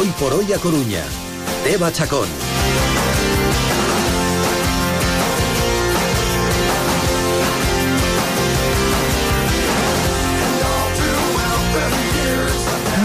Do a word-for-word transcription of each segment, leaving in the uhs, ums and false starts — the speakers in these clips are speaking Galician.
Hoy por hoy a Coruña. Teba Chacón.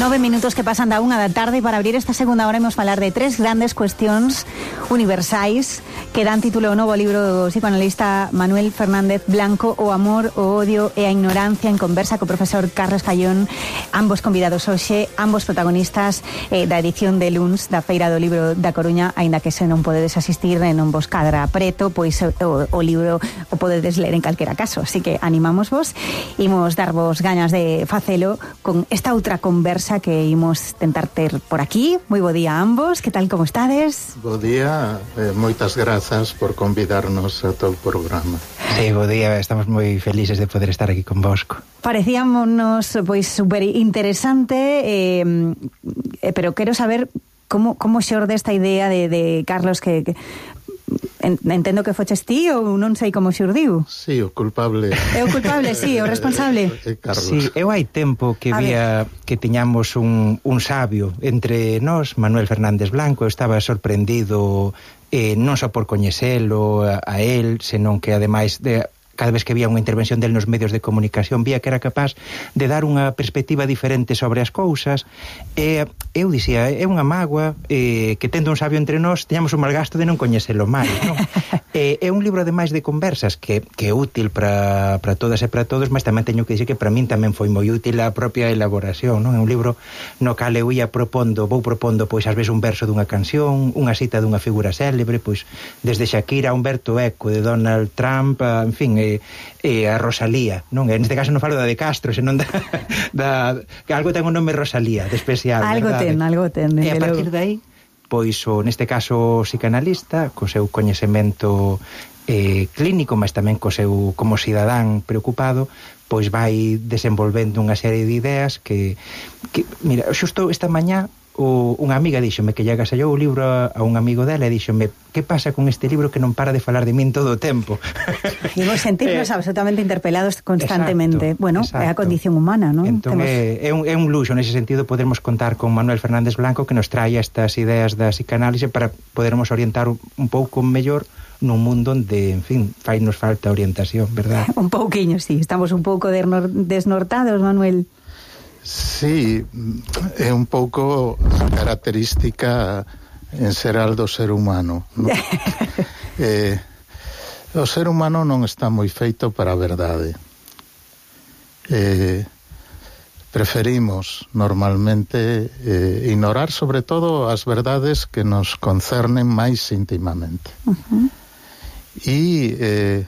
Nove minutos que pasan da unha da tarde e para abrir esta segunda hora imos falar de tres grandes cuestións universais que dan título ao novo libro do psicoanalista Manuel Fernández Blanco, O amor, o odio e a ignorancia, en conversa co profesor Carlos Callón, ambos convidados hoxe, ambos protagonistas eh, da edición de luns da Feira do Libro da Coruña, aínda que se non podedes asistir e non vos cadra preto, pois o, o libro o podedes ler en calquera caso, así que animamos vos, imos darvos gañas de facelo con esta outra conversa que imos tentar ter por aquí. Moi bo día a ambos, que tal, como estades? Bo día, eh, moitas grazas por convidarnos a todo o programa. Sí, bo día, estamos moi felices de poder estar aquí con vosco. Parecíamonos pois super interesante, eh, eh, pero quero saber como como xorde esta idea de, de Carlos que, que entendo que foches ti ou non sei como xurdiu. Sí, o culpable. É o culpable, sí, o responsable. É Carlos. Sí, eu hai tempo que a vía ver. que tiñamos un, un sabio entre nós, Manuel Fernández Blanco. Eu estaba sorprendido eh, non só por coñecelo a, a él, senón que ademais de cada vez que vía unha intervención del nos medios de comunicación, vía que era capaz de dar unha perspectiva diferente sobre as cousas. E eu dicía, é unha mágoa eh, que tendo un sabio entre nós teñamos un malgasto de non coñecelo máis, non? eh, é un libro ademais de conversas que, que é útil para todas e para todos, mas tamén teño que dicir que para min tamén foi moi útil a propia elaboración, non? É un libro no cal eu ia propondo, vou propondo pois ás veces un verso dunha canción, unha cita dunha figura célebre, pois desde Shakira a Humberto Eco, de Donald Trump, a, en fin, e, e a Rosalía, non? En este caso non falo da de Castro, senón da, da que algo ten o nome Rosalía, de especial, algo verdade? ten, algo ten. E a partir de aí, pois o, neste caso, o psicanalista, co seu coñecemento eh, clínico, mas tamén co seu como cidadán preocupado, pois vai desenvolvendo unha serie de ideas que, que mira, xusto esta mañá o, unha amiga díxome que lle agasallou o libro a, a un amigo dela e díxome, que pasa con este libro que non para de falar de min todo o tempo? E vos sentirnos eh, absolutamente interpelados constantemente. Exacto, bueno, exacto. É a condición humana, non? Entón Temos... é, é, un, é un luxo nese sentido podermos contar con Manuel Fernández Blanco, que nos traia estas ideas da psicanálise para podermos orientar un, un pouco mellor nun mundo onde, en fin, fai nos falta orientación, verdad? Un pouquiño, sí, estamos un pouco desnortados, Manuel. Sí, é un pouco característica en xeral do ser humano, non? eh, o ser humano non está moi feito para a verdade. Eh, preferimos normalmente eh, ignorar sobre todo as verdades que nos concernen máis íntimamente. Uh-huh. E eh,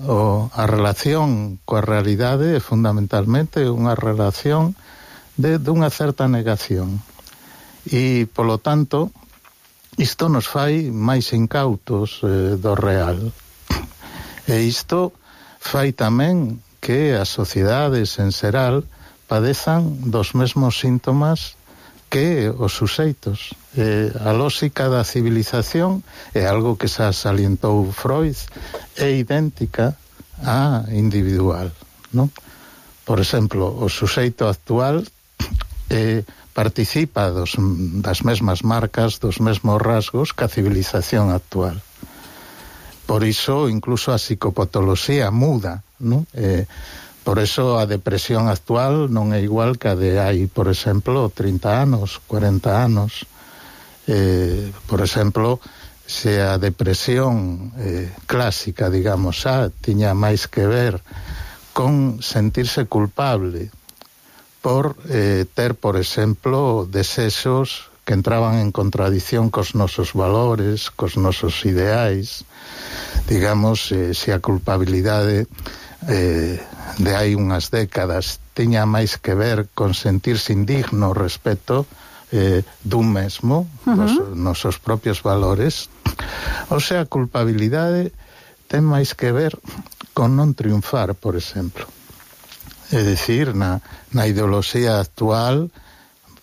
o, a relación coa realidade é fundamentalmente unha relación de dunha certa negación. E, polo tanto, isto nos fai máis incautos eh, do real. E isto fai tamén que as sociedades en xeral padezan dos mesmos síntomas que os suxeitos. Eh, a lóxica da civilización é algo que xa salientou Freud, é idéntica á individual, non? Por exemplo, o suxeito actual eh, participa dos, das mesmas marcas, dos mesmos rasgos que a civilización actual. Por iso, incluso a psicopatoloxía muda, non? Eh, por iso a depresión actual non é igual que a de hai, por exemplo, trinta anos, cuarenta anos. Eh, por exemplo, se a depresión eh, clásica, digamos, xa tiña máis que ver con sentirse culpable por eh, ter, por exemplo, desexos que entraban en contradición cos nosos valores, cos nosos ideais. Digamos, eh, se a culpabilidade eh, de hai unhas décadas tiña máis que ver con sentirse indigno respecto eh, dun mesmo, uh-huh. dos nosos propios valores. O sea, a culpabilidade ten máis que ver con non triunfar, por exemplo. É dicir, na, na ideoloxía actual,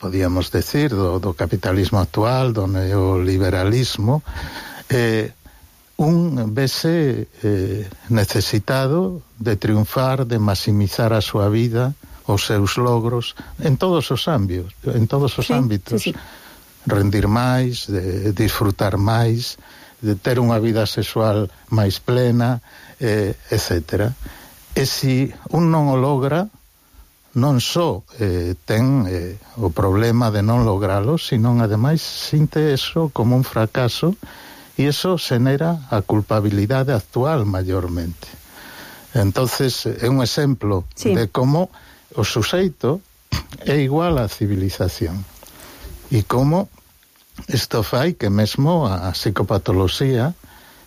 podíamos decir, do, do capitalismo actual, do neoliberalismo, eh, un vese eh, necesitado de triunfar, de maximizar a súa vida, os seus logros, en todos os ámbitos, en todos os sí, ámbitos. Sí, sí. rendir máis, de disfrutar máis, de ter unha vida sexual máis plena, eh, etcétera. E se un non o logra, non só eh, ten eh, o problema de non logralo, sino ademais sinte eso como un fracaso, e eso xenera a culpabilidade actual maiormente. Entonces é un exemplo sí. de como o suxeito é igual á civilización e como isto fai que mesmo a psicopatoloxía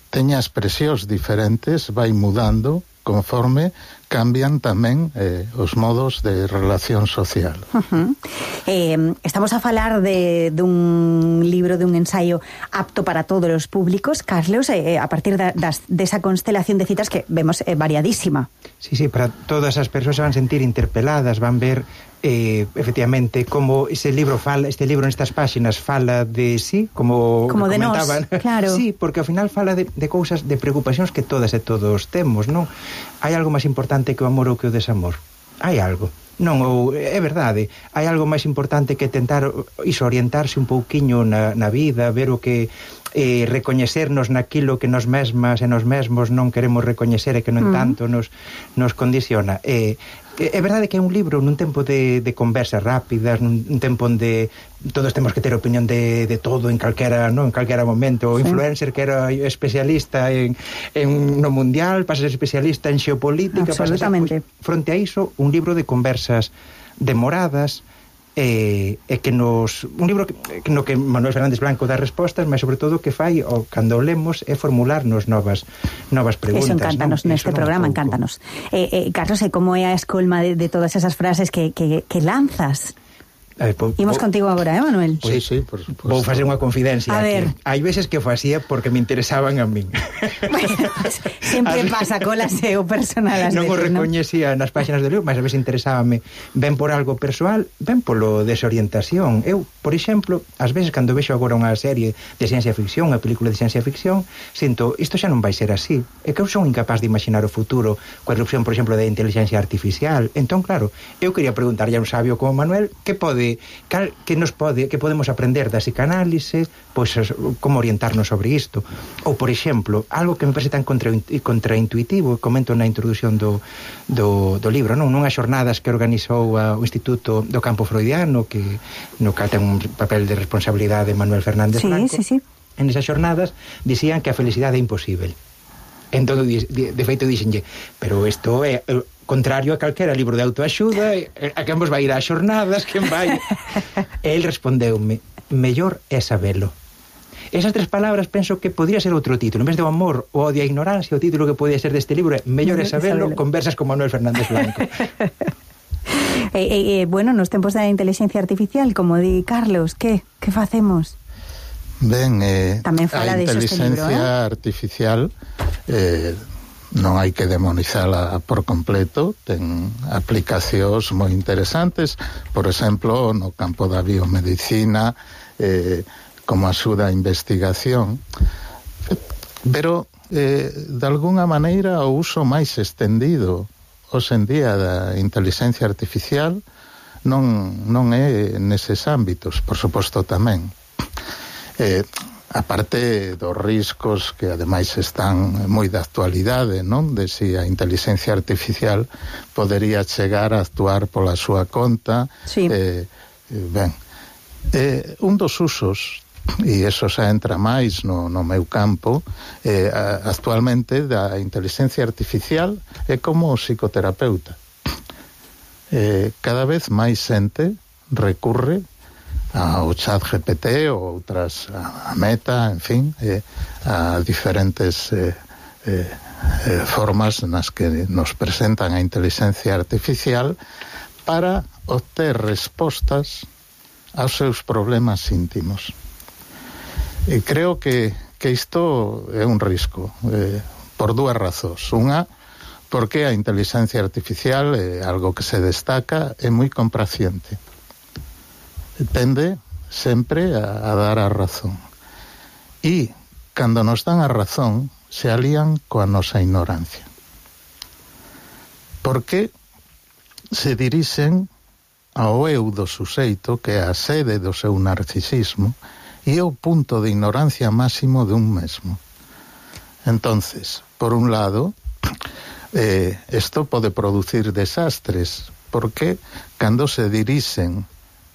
teña expresións diferentes, vai mudando conforme cambian tamén eh, os modos de relación social. Uh-huh. Eh, estamos a falar de, de un libro, de un ensaio apto para todos os públicos, Carlos, eh, a partir da, das, desa constelación de citas que vemos eh, variadísima. Sí, sí, para todas as persoas se van sentir interpeladas, van ver eh, efectivamente como ese libro fala, este libro nestas páxinas fala de sí, como, como de nós, claro. Sí, porque ao final fala de, de cousas, de preocupacións que todas e todos temos, non? Hai algo máis importante que o amor ou que o desamor? Hai algo. Non, ou, é verdade, hai algo máis importante que tentar iso, orientarse un pouquiño na, na vida, ver o que eh, recoñecernos naquilo que nos mesmas e nos mesmos non queremos recoñecer e que non mm. tanto nos, nos condiciona. Eh, é verdade que é un libro nun tempo de, de conversas rápidas, nun tempo onde todos temos que ter opinión de, de todo en calquera, non, en calquera momento. O sí. influencer que era especialista en, en no mundial pasa a ser especialista en xeopolítica, pasa a ser, pues, fronte a iso, un libro de conversas demoradas, e, e que nos un libro que, no que Manuel Fernández Blanco dá respostas, mas sobre todo que fai o cando o lemos é formularnos novas novas preguntas. Eso encántanos, non? Neste programa encántanos. Eh, eh, Carlos, e como é a escolma de, de todas esas frases que, que, que lanzas? Ver, po, Imos po, contigo agora, eh, Manuel? Sí, sí, por supuesto. Vou facer unha confidencia. A ver. Hai veces que facía porque me interesaban a min. Bueno, pues, sempre pasa colas e o personal. Non o veces, recoñecía ¿no? nas páxinas do libro, mas a veces interesábame ben por algo persoal, ben polo desorientación. Eu, por exemplo, ás veces cando vexo agora unha serie de ciencia ficción, unha película de ciencia ficción, sinto, isto xa non vai ser así. É que eu son incapaz de imaginar o futuro coa erupción, por exemplo, da inteligencia artificial. Entón, claro, eu quería preguntarlle a un sabio como Manuel que pode Cal, que nos pode, que podemos aprender da psicanálise, pois como orientarnos sobre isto. Ou, por exemplo, algo que me parece tan contra, contraintuitivo, comento na introdución do, do, do libro, non? Nunhas xornadas que organizou a, o Instituto do Campo Freudiano, que no que ten un papel de responsabilidade de Manuel Fernández sí, Blanco. Sí, sí. En esas xornadas dicían que a felicidade é imposible. Entón, de, de feito, dixenlle, pero isto é contrario a calquera libro de autoaxuda, a quen vos vai ir ás xornadas, quen vai... E el respondeume, mellor é sabelo. Esas tres palabras penso que podría ser outro título. En vez de o amor ou odio a ignorancia, o título que podía ser deste libro é mellor é sabelo, conversas con Manuel Fernández Blanco. eh, eh, bueno, nos tempos da inteligencia artificial, como di Carlos, que que facemos? Ben, eh, tamén fala a de inteligencia libro, eh? artificial eh, non hai que demonizala por completo, ten aplicacións moi interesantes, por exemplo, no campo da biomedicina, eh, como axuda a investigación, pero eh, de alguna maneira o uso máis extendido hoxe en día da inteligencia artificial non, non é neses ámbitos, por suposto tamén. Eh, aparte dos riscos que ademais están moi de actualidade, non? De si a inteligencia artificial podería chegar a actuar pola súa conta. Sí. Eh, ben, eh, un dos usos, e eso xa entra máis no, no meu campo, eh, actualmente da inteligencia artificial é como psicoterapeuta. Eh, cada vez máis xente recurre ao chat G P T ou outras, a Meta, en fin, eh, a diferentes eh, eh, eh, formas nas que nos presentan a inteligencia artificial para obter respostas aos seus problemas íntimos. E creo que, que isto é un risco, eh, por dúas razóns. Unha, porque a inteligencia artificial é algo que se destaca, é moi complaciente. Tende sempre a, a dar a razón. E, cando nos dan a razón, se alían coa nosa ignorancia. Porque se dirixen ao eu do suxeito, que é a sede do seu narcisismo, e é o punto de ignorancia máximo de un mesmo. Entonces, por un lado, eh, esto pode producir desastres, porque cando se dirixen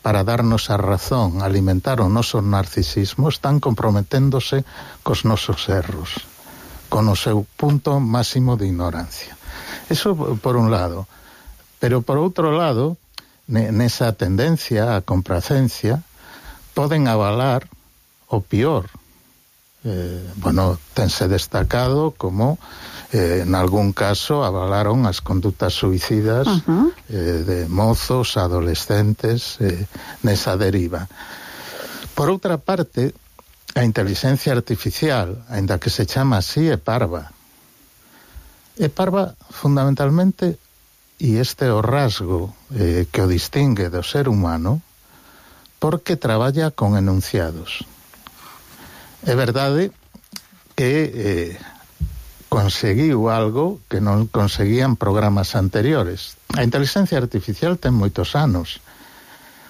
para darnos a razón, alimentar o noso narcisismo, están comprometéndose cos nosos erros, con o seu punto máximo de ignorancia. Eso por un lado. Pero por outro lado, nesa tendencia a complacencia, poden avalar o pior. Eh, bueno, tense destacado como eh, en algún caso avalaron as conductas suicidas uh-huh. eh, de mozos, adolescentes, eh, nesa deriva. Por outra parte, a inteligencia artificial, aínda que se chama así, é parva. É parva fundamentalmente, e este é o rasgo eh, que o distingue do ser humano, porque traballa con enunciados. É verdade que eh, conseguiu algo que non conseguían programas anteriores. A inteligencia artificial ten moitos anos.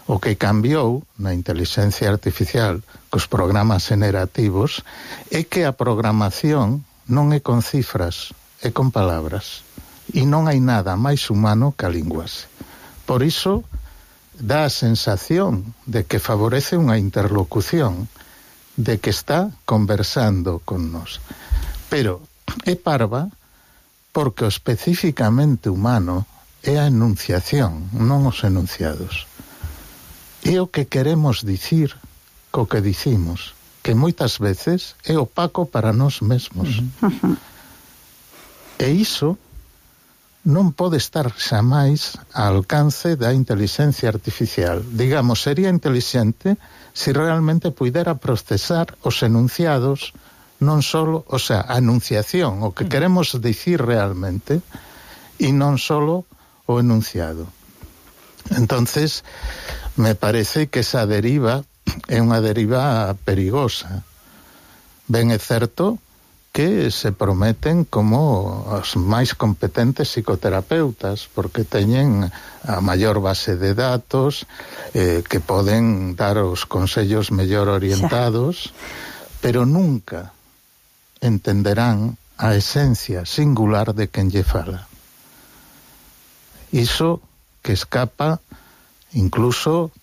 O que cambiou na inteligencia artificial cos programas generativos é que a programación non é con cifras, é con palabras. E non hai nada máis humano que a linguaxe. Por iso, dá a sensación de que favorece unha interlocución, de que está conversando con nos. Pero é parva porque o especificamente humano é a enunciación, non os enunciados. É o que queremos dicir co que dicimos, que moitas veces é opaco para nós mesmos. Uh-huh. E iso non pode estar xamais ao alcance da inteligencia artificial. Digamos, sería inteligente se realmente puidera procesar os enunciados, non solo, o sea, a enunciación, o que queremos dicir realmente, e non solo o enunciado. Entonces, me parece que esa deriva é unha deriva perigosa. Ben é certo que se prometen como os máis competentes psicoterapeutas, porque teñen a maior base de datos, eh, que poden dar os consellos mellor orientados, pero nunca entenderán a esencia singular de quen lle fala. Iso que escapa incluso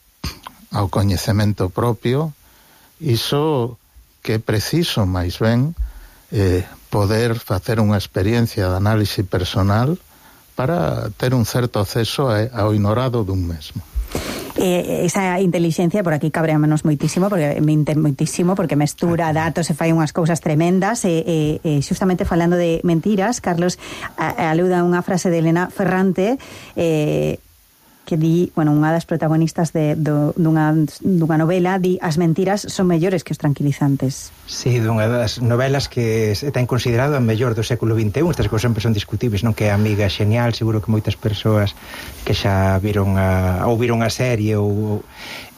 ao coñecemento propio, iso que é preciso máis ben Eh, poder facer unha experiencia de análise personal para ter un certo acceso a, ao ignorado dun mesmo. Eh, esa inteligencia, por aquí cabreámonos moitísimo, porque mente moitísimo, porque mestura datos e fai unhas cousas tremendas, e eh, eh, justamente falando de mentiras, Carlos a, aluda a unha frase de Elena Ferrante, eh, que di, bueno, unha das protagonistas de, do, dunha, dunha novela, di as mentiras son mellores que os tranquilizantes. Sí, dunha das novelas que ten considerado a mellor do século vinte e un. Estas cousas sempre son discutibles, non? Que é Amiga xenial, seguro que moitas persoas que xa viron a, ou viron a serie ou...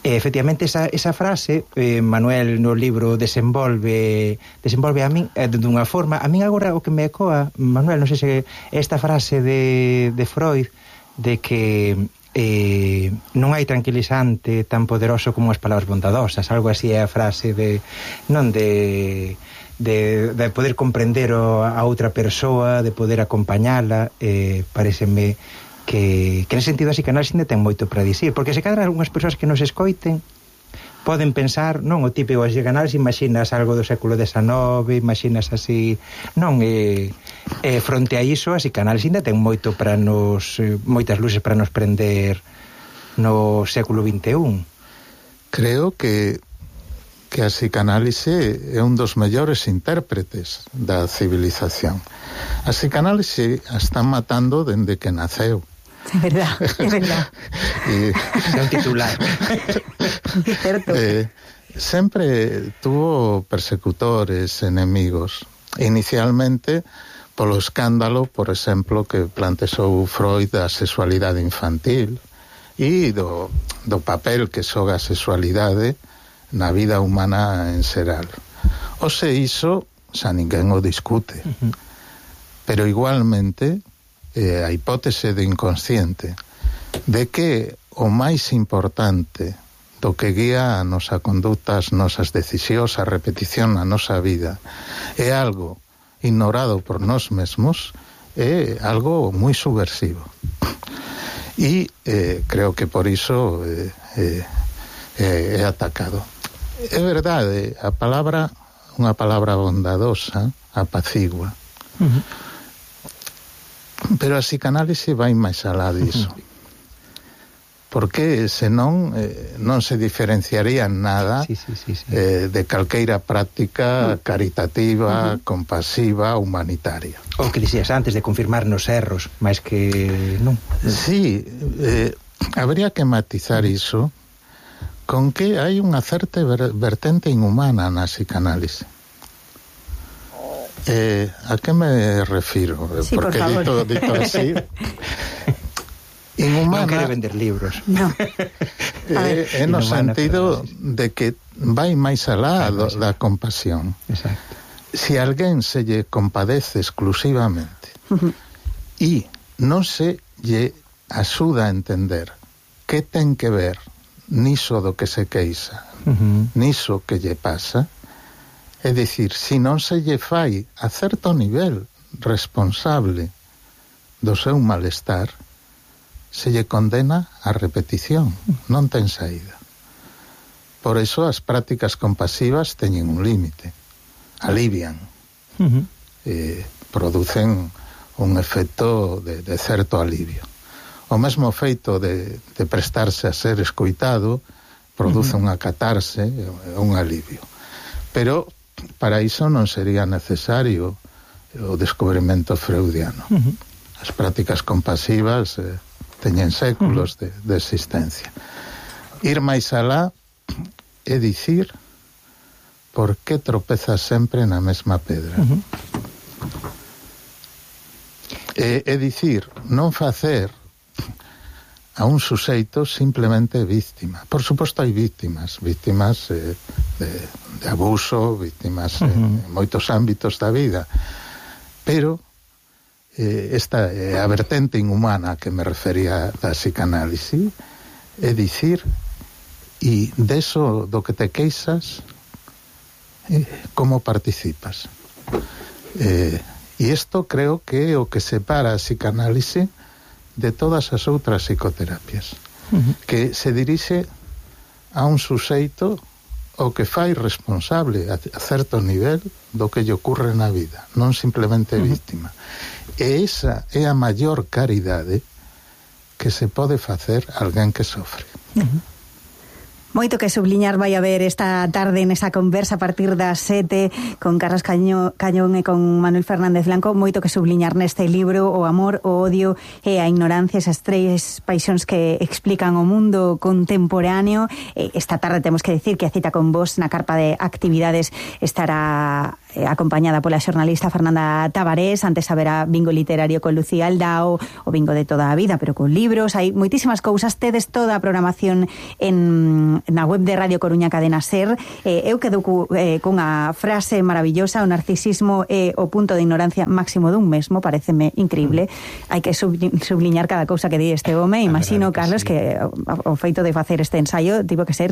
E, efectivamente, esa, esa frase, eh, Manuel no libro desenvolve desenvolve a min eh, dunha forma. A min agora o que me ecoa, Manuel, non sei se esta frase de, de Freud, de que eh, non hai tranquilizante tan poderoso como as palabras bondadosas, algo así é a frase de non de de, de poder comprender o, a outra persoa, de poder acompañala. Eh, pareceme que, que nese sentido a psicanálise ainda ten moito para dicir, porque se cadra algunhas persoas que nos escoiten poden pensar, non, o típico a psicanálise, imaginas algo do século dezenove, imaginas así, non, e, e fronte a iso a psicanálise ainda ten moito para nos, moitas luces para nos prender no século vinte e un. Creo que que a psicanálise é un dos mellores intérpretes da civilización. A psicanálise a están matando dende que naceu. É verdad, é verdad. E é un titular. Certo. Eh, sempre tuvo persecutores, enemigos. Inicialmente polo escándalo, por exemplo, que plantexou Freud da sexualidade infantil e do, do papel que xoga a sexualidade na vida humana en xeral. O se iso, xa ninguén o discute. Uh-huh. Pero igualmente eh, a hipótese de inconsciente de que o máis importante do que guía a nosa conduta, as nosas decisións, a repetición na nosa vida, é algo ignorado por nós mesmos, é algo moi subversivo. E eh, creo que por iso eh, eh, eh, é atacado. É verdade, a palabra, unha palabra bondadosa, apacigua. Uh-huh. Pero a psicanálise vai máis alá diso. Uh-huh. Porque senón eh, non se diferenciaría nada sí, sí, sí, sí. Eh, de calqueira práctica caritativa, uh-huh. compasiva, humanitaria. O que dixías antes de confirmar nos erros, máis que non. Sí, eh, habría que matizar iso con que hai unha certa vertente inhumana na psicanálise. Eh, a que me refiro? Sí, porque por dito, dito así inhumana non quere vender libros no. eh, é no sentido de que vai máis alá do, da compasión. Exacto. Si alguén se lle compadece exclusivamente uh-huh. e non se lle axuda a entender que ten que ver niso do que se queixa, uh-huh. niso que lle pasa, é dicir, si non se lle fai a certo nivel responsable do seu malestar, se lle condena a repetición, non ten saída. Por iso as prácticas compasivas teñen un límite, alivian, uh-huh. eh, producen un efecto de, de certo alivio. O mesmo feito de, de prestarse a ser escoitado produce uh-huh. unha catarse, un alivio. Pero para iso non sería necesario o descubrimento freudiano. Uh-huh. As prácticas compasivas eh, teñen séculos uh-huh. de, de existencia. Ir máis alá é dicir por que tropezas sempre na mesma pedra. Uh-huh. É, é dicir, non facer a un suxeito simplemente víctima. Por suposto hai víctimas, víctimas eh, de, de abuso, víctimas uh-huh. en moitos ámbitos da vida, pero eh, esta é a vertente inhumana que me refería da psicanálise, é dicir, e deso do que te queixas, eh, como participas. Eh, e isto creo que é o que separa a psicanálise de todas as outras psicoterapias, uh-huh. que se dirixe a un suxeito o que fai responsable a, a certo nivel do que lle ocurre na vida, non simplemente uh-huh. víctima. E esa é a maior caridade que se pode facer a alguén que sofre. Uh-huh. Moito que subliñar vai haber esta tarde nesa conversa a partir das sete con Carlos Caño, Cañón e con Manuel Fernández Blanco. Moito que subliñar neste libro, o amor, o odio e a ignorancia, esas tres paixóns que explican o mundo contemporáneo. Esta tarde temos que decir que a cita con vos na carpa de actividades estará acompañada pola xornalista Fernanda Tabarés. Antes haberá bingo literario con Lucía Aldao, o bingo de toda a vida, pero con libros. Hai moitísimas cousas. Tedes toda a programación en na web de Radio Coruña Cadena Ser. Eh, eu quedo cu, eh, cunha frase maravillosa: o narcisismo é o punto de ignorancia máximo dun mesmo. Pareceme increíble. Mm. Hai que subliñar cada cousa que di este home. Imagino, que Carlos, sí. que o, o feito de facer este ensaio tivo que ser,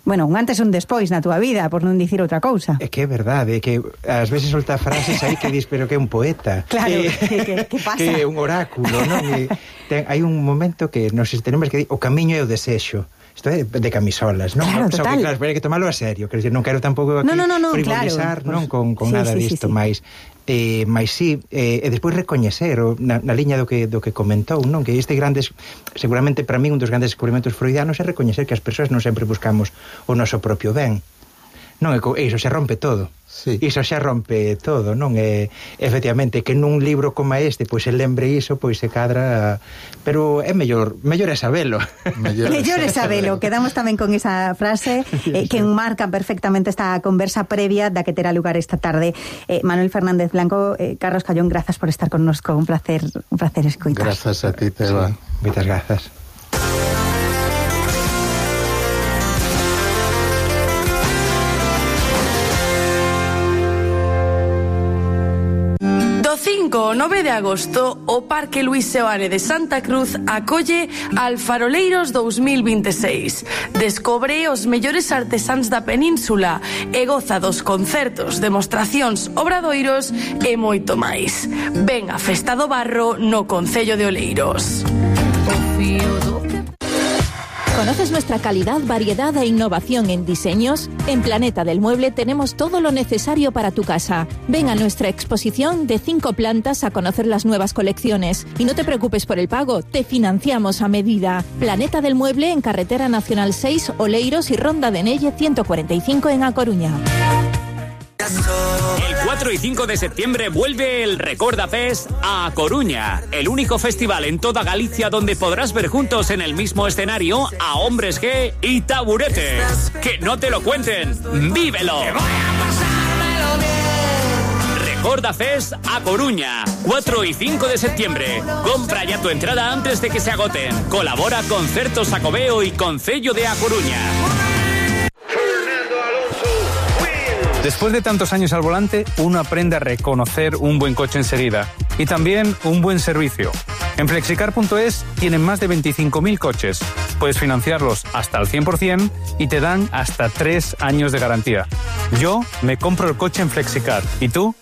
bueno, un antes e un despois na túa vida, por non dicir outra cousa. É que é verdade, é que ás veces solta frases aí que dis, pero que é un poeta. Claro, eh, que, que, que pasa? Que é un oráculo, non? E ten, hai un momento que nos tenemos que dir, o camiño é o desexo. Isto é de camisolas, non? Claro, Só total. que, claro, hai que tomalo a serio. Quero dizer, non quero tampouco aquí no, no, no, no, frivolizar, claro. non? Con, con sí, nada sí, disto, sí, sí. máis... Eh, máis sí, eh, e despois recoñecer o, na, na liña do que, do que comentou, non? Que este grandes, seguramente para min un dos grandes descubrimentos freudianos é recoñecer que as persoas non sempre buscamos o noso propio ben, non? E iso xa rompe todo. Sí. Iso xa rompe todo, non? E, efectivamente, que nun libro como este pois se lembre iso, pois se cadra, pero é mellor, mellor é sabelo. Mellor, mellor é sabelo. Quedamos tamén con esa frase eh, que enmarca perfectamente esta conversa previa da que terá lugar esta tarde. Eh, Manuel Fernández Blanco, eh, Carlos Callón, grazas por estar connosco. Un placer, un placer escoitar. Grazas a ti, Teba. Sí, moitas grazas. cinco cinco ao nove de agosto, o Parque Luís Seoane de Santa Cruz acolle Alfaroleiros dous mil vinte e seis. Descobre os mellores artesáns da península e goza dos concertos, demostracións, obradoiros e moito máis. Ven a Festa do Barro no Concello de Oleiros. ¿Conoces nuestra calidad, variedad e innovación en diseños? En Planeta del Mueble tenemos todo lo necesario para tu casa. Ven a nuestra exposición de cinco plantas a conocer las nuevas colecciones. Y no te preocupes por el pago, te financiamos a medida. Planeta del Mueble en Carretera Nacional seis, Oleiros y Ronda de Nelle ciento cuarenta y cinco en A Coruña. El cuatro y cinco de septiembre vuelve el Recorda Fest a Coruña, el único festival en toda Galicia donde podrás ver juntos en el mismo escenario a Hombres G y Taburete. Que no te lo cuenten, vívelo. Recorda Fest a Coruña, cuatro y cinco de septiembre. Compra ya tu entrada antes de que se agoten. Colabora Concertos Xacobeo y Concello de A Coruña. Después de tantos años al volante, uno aprende a reconocer un buen coche enseguida y también un buen servicio. En flexicar punto es tienen más de veinticinco mil coches. Puedes financiarlos hasta al cien por ciento y te dan hasta tres años de garantía. Yo me compro el coche en Flexicar. ¿Y tú?